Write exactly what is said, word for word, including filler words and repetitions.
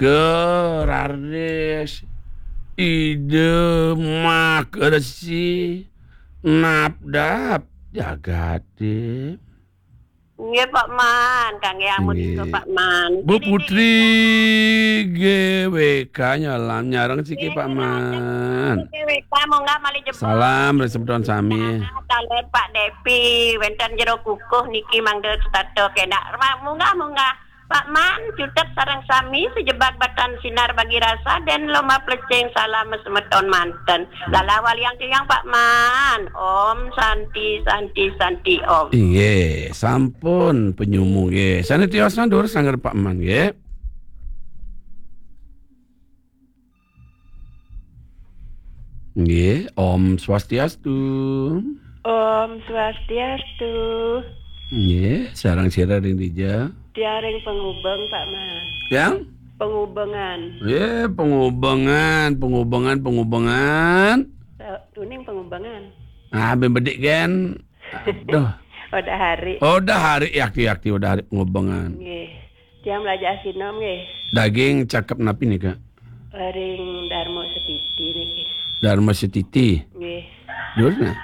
Nika raris Ida Makaresi napdap jagaté. Nggih, Pak Man, kanggé amun Nggih. Nika, Pak Man. Bu Putri G W K nyalam nyareng siki, Pak Man. G W K, munggah malih jebos. Salam ring semeton sami. Taler Pak Depi, wénten jero kukuh niki mangda setata kénak. Munggah, munggah. Pak Man, cutet sareng sami sejebag batan sinar bagi rasa dan lomba plecing salam semeton manten. Lala waliang tiang Pak Man. Om Santi, Santi, Santi, Om. Inggih, sampun penyumu nggih. Sané tios nandur sangger Pak Man nggih. Nggih, Om Swastiastu. Om Swastiastu. Nggih, sareng sira ring dija? Tiang ring Pengubeng, Pak Man. Yang? Pengubengan. Nggih, Pengubengan, Pengubengan, Pengubengan. Tuning Pengubengan. Ah, ben bedik gen. Aduh. Udah hari. Oh, udah hari yakti-yakti udah hari Pengubengan. Nggih. Tiang melajah sinom nggih. Daging cakep napi nika? Ring Dharma Setiti niki. Dharma Setiti. Nggih. Dur nah.